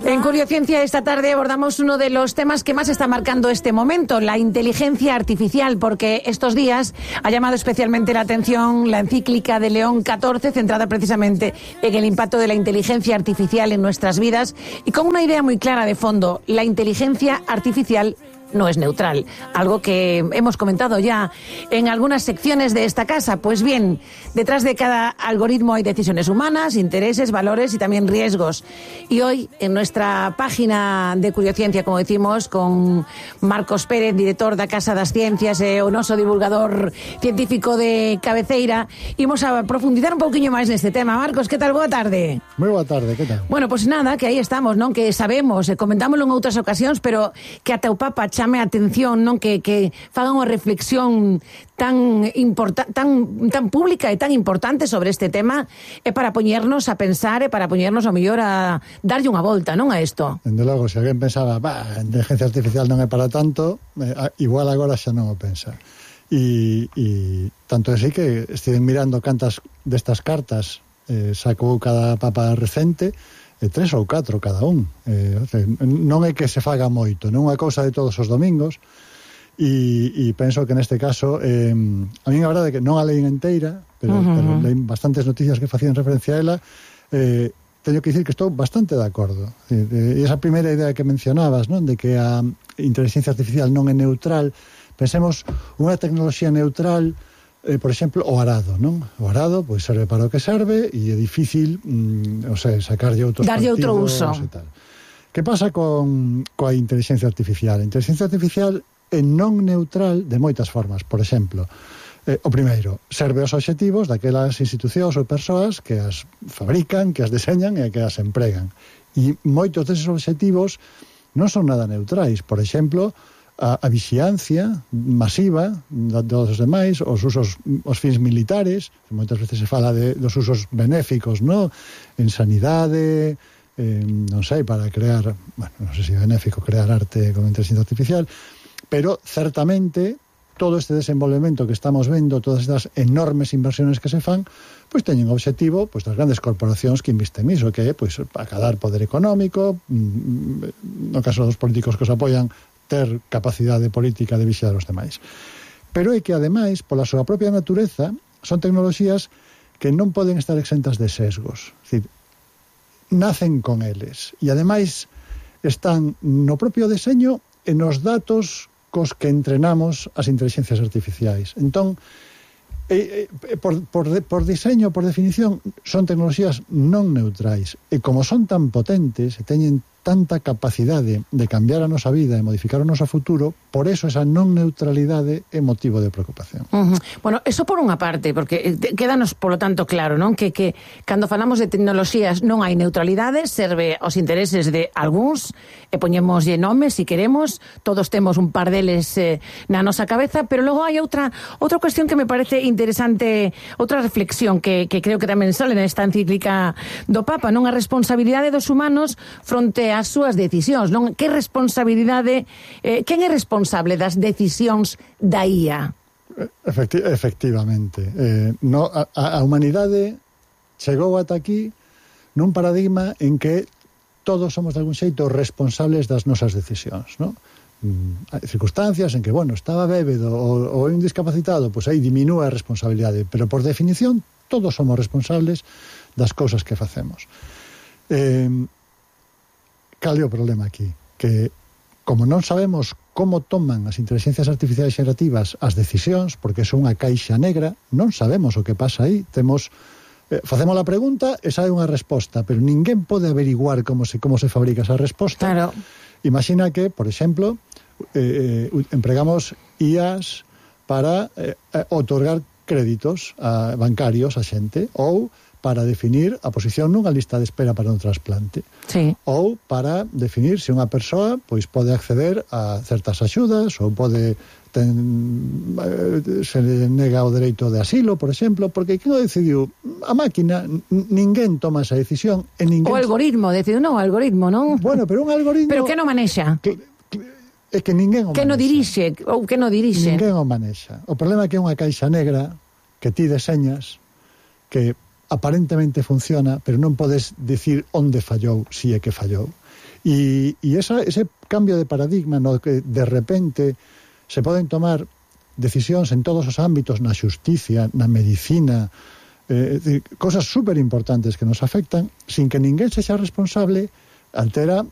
En Curiociencia esta tarde abordamos uno de los temas que más está marcando este momento, la inteligencia artificial, porque estos días ha llamado especialmente la atención la encíclica de León XIV, centrada precisamente en el impacto de la inteligencia artificial en nuestras vidas y con una idea muy clara de fondo: la inteligencia artificial no es neutral, algo que hemos comentado ya en algunas secciones de esta casa. Pues bien, detrás de cada algoritmo hay decisiones humanas, intereses, valores y también riesgos. Y hoy, en nuestra página de Curiociencia, como decimos, con Marcos Pérez, director da Casa das Ciencias, o noso divulgador científico de cabeceira, imos a profundizar un pouquiño máis neste tema. Marcos, que tal? Boa tarde. Moi boa tarde, que tal? Bueno, pues nada, que aí estamos, non? Que sabemos, comentámoslo en outras ocasións, pero que ata o Papa chame a atención, non? Que fagan unha reflexión tan pública e tan importante sobre este tema, é para poñernos a pensar e para poñernos ao mellor a darlle unha volta, non, a isto. Dende logo, se alguén pensaba, a inteligencia artificial non é para tanto, igual agora xa non o pensa. E tanto é así que estiven mirando cantas destas cartas sacou cada papa recente, 3 ou 4 cada un. Non é que se faga moito, non é unha cousa de todos os domingos, e penso que neste caso a mí a verdade é que non a leín inteira, pero leín bastantes noticias que facían referencia a ela. Teño que dicir que estou bastante de acordo. E esa primeira idea que mencionabas, non, de que a inteligencia artificial non é neutral, pensemos unha tecnoloxía neutral, por exemplo, o arado, non? O arado, pois, serve para o que serve e é difícil, sacarlle outros darlle outro uso. E tal. Que pasa coa inteligencia artificial? A inteligencia artificial é non neutral de moitas formas. Por exemplo, o primeiro, serve aos obxectivos daquelas institucións ou persoas que as fabrican, que as deseñan e que as empregan. E moitos deses obxectivos non son nada neutrais. Por exemplo, a vixiancia masiva dos demais, os fins militares, moitas veces se fala dos usos benéficos, non? En sanidade, non sei, para crear, bueno, non sei se é benéfico crear arte con inteligencia artificial, pero certamente todo este desenvolvemento que estamos vendo, todas estas enormes inversiones que se fan, pois teñen o obxectivo, pois, das grandes corporacións que invisten niso, que é, pois, acadar poder económico, no caso dos políticos que os apoian, ter capacidade política de vixiar os demais. Pero é que, ademais, pola súa propia natureza, son tecnoloxías que non poden estar exentas de sesgos. É dicir, nacen con eles. E, ademais, están no propio deseño e nos datos cos que entrenamos as inteligencias artificiais. Entón, por diseño, por definición, son tecnoloxías non neutrais. E como son tan potentes e teñen tanta capacidade de cambiar a nosa vida e modificar o noso futuro, por eso esa non neutralidade é motivo de preocupación. Bueno, eso por unha parte, porque quédanos, polo tanto, claro, non? Que cando falamos de tecnoloxías non hai neutralidade, serve aos intereses de algúns, e poñémoslle nomes, se queremos, todos temos un par deles na nosa cabeza, pero logo hai outra cuestión que me parece interesante, outra reflexión que creo que tamén sale nesta encíclica do Papa, non? A responsabilidade dos humanos fronte as súas decisións, non? Que responsabilidade, quen é responsable das decisións da IA? Efectivamente. A humanidade chegou ata aquí nun paradigma en que todos somos de algún xeito responsables das nosas decisións, non? Hai circunstancias en que, bueno, estaba bébedo ou un discapacitado, pois aí diminúe a responsabilidade, pero por definición todos somos responsables das cousas que facemos. Cal é o problema aquí? Que, como non sabemos como toman as inteligencias artificiais xerativas as decisións, porque son unha caixa negra, non sabemos o que pasa aí. Facemos a pregunta e sae unha resposta, pero ninguén pode averiguar como se fabrica esa resposta. Claro. Imagina que, por exemplo, empregamos IAs para otorgar créditos bancarios a xente, ou para definir a posición nunha lista de espera para un trasplante. Sí. Ou para definir se unha persoa pois pode acceder a certas axudas ou pode se le nega o dereito de asilo, por exemplo, porque quen o decidiu? A máquina, ninguén toma esa decisión e ninguén... O algoritmo, decidiu, non, o algoritmo, non? Bueno, pero un algoritmo... Pero que non manexa? É que ninguén o manexa. Que non dirixe, ou que non dirixe? Ninguén o manexa. O problema é que é unha caixa negra que ti deseñas, que aparentemente funciona, pero non podes dicir onde fallou, si é que fallou. E ese cambio de paradigma no que de repente se poden tomar decisións en todos os ámbitos, na xusticia, na medicina, cosas super importantes que nos afectan, sin que ninguén sexa responsable, altera